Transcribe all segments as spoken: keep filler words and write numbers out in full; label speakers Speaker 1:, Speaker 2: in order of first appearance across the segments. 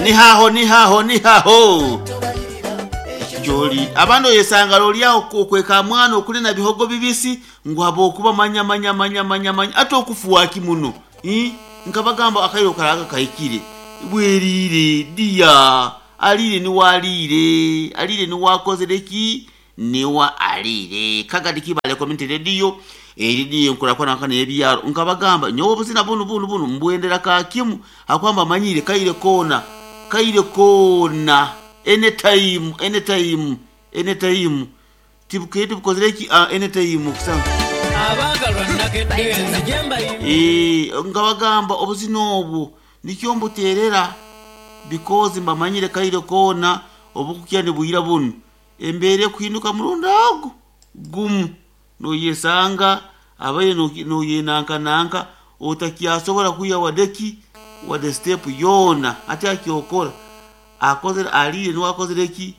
Speaker 1: Nihaho, nihaho, nihaho gyoli abandi oyesanga lolyawo okweka mwana okuli na bihogo bibisi ngu habwokuba manya manya manya manya manya ate okufuwaki muno. Ii? Nkabagamba akaire okaraga kahikire bwerire diya aliire niwaliire aliire niwakozere ki niwa aliire Kagadi Kibale Community Radio eridiyo enkurakurana n'ebyaro. Nkabagamba nyowe obuzina bunu bunu bunu mbwendera kakimu akwamba manyire kaire koona kaire koona anytime, anytime, anytime tibukaire tibukozere ki uh, anytime kusanga
Speaker 2: Abaagalwa nakedde nzije mbayimbe.
Speaker 1: Eh, nkabagamba obuzina obwo nikyo mbuterera because mbamanyire kaire koona obukukya nibwira bunu embeera ekuhinduka murundi ago gumu noyesanga abaire noyenankananka otakyasobora kwiha wadeki wade step yoona ati akyokora akozere aliire niwe akozere ki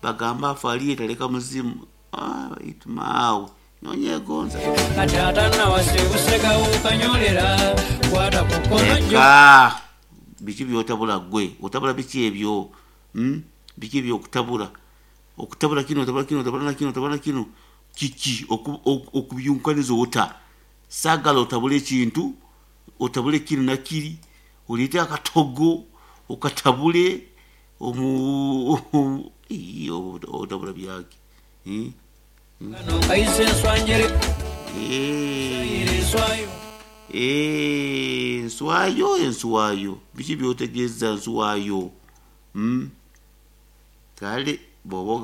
Speaker 1: bagamba afe aliire taleka muzimu. Ah, itu maawe nonyegonza
Speaker 2: Kati atannawasa ebusega okanyolera kwata ku kkono jjo.
Speaker 1: Eka biki byotabula gwe otabula biki ebyo, hmm? Biki ebyokutabula okutabula kino otabula kino otabula na kino otabula na kino kiki okubyunkaniza ota sagala otabule ekintu otabule kino na kiri oleete akatogo okatabule omu otabula byaki, hmm?
Speaker 2: Kano kayise enswanjere.
Speaker 1: Eh.
Speaker 2: Enswayo.
Speaker 1: Eh, enswayo enswayo biki byotegeeza nswayo, hmm? Kale bw'oba